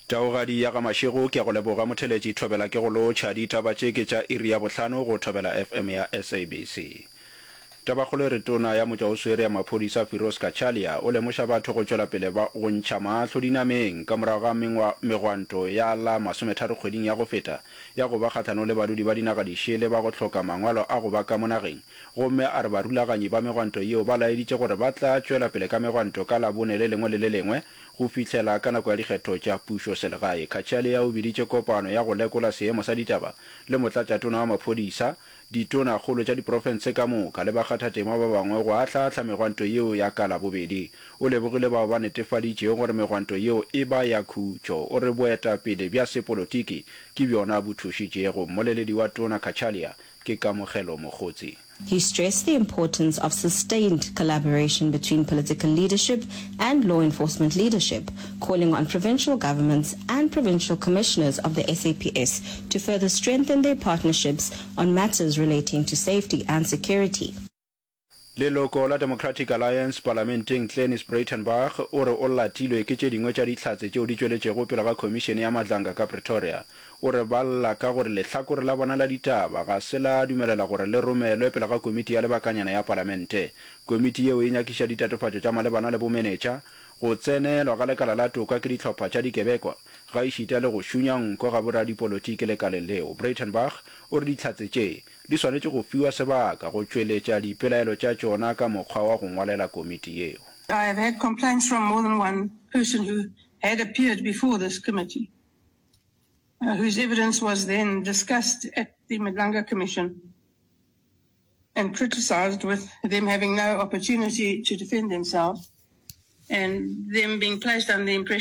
Taugadi ya ga Mashego, ke a go leboga motheletši Thobela ke go lotšha. Ditaba tše ke tša iri ya bohlano go Thobela FM ya SABC. Tabakgolo e re Tona ya Motšwaoswere ya Maphodisa Firoz Cachalia o lemoša batho go tšwela pele ba go ntšha mahlo dinameng ka morago ga mengwa megwanto ya la masometharo kgweding ya go feta ya go ba kgahlanong le badudi ba dinaga dišele ba go hloka mangwalo a go ba ka mo nageng gomme a re barulaganyi ba megwanto yeo ba laeditše gore ba tla tšwela pele ka megwanto ka Labone le lengwe le le lengwe go fihlela ka nako ya dikgetho tša pušoselegae. Cachalia o biditše kopano ya go lekola seemo sa ditaba le motlatšatona wa maphodisa, ditonakgolo tša diprofense ka moka le bakgathatema ba bangwe go ahlaahla megwanto yeo ya ka Labobedi. O lebogile bao ba netefaditšego gore megwanto yeo e ba ya khutšo. O re boetapele bja sepolotiki ke bjona bo thušitšego. Mmoleledi wa Tona Cachalia ke Kamogelo Mogotsi. He stressed the importance of sustained collaboration between political leadership and law enforcement leadership, calling on provincial governments and provincial commissioners of the SAPS to further strengthen their partnerships on matters relating to safety and security. Leloko la Democratic Alliance palamenteng Glynnis Breytenbach o re o latilwe ke tše dingwe tša dihlatse tšeo di tšweletšego pele ga khomišene ya Madlanga ka Pretoria. O re ba lla ka gore lehlakore la bona la ditaba ga se la dumelela gore le romelwe pele ga komiti ya lebakanyana ya palamente. Komiti yeo e nyakiša ditatofatšo tša malebana le bomenetša, go tsenelwa ga lekala la toka ke dihlopha tša dikebekwa, gaešita le go šunya nko ga boradipolotiki lekaleng leo. Breytenbach o re dihlatse tše di swanetše go fiwa sebaka go tšweletša dipelaelo tša tšona ka mokgwa wa go ngwalela komiti yeo. I have had complaints from more than one person who had appeared before this committee. Whose evidence was then discussed at the Madlanga Commission and criticized with them having no opportunity to defend themselves and them being placed under the impression.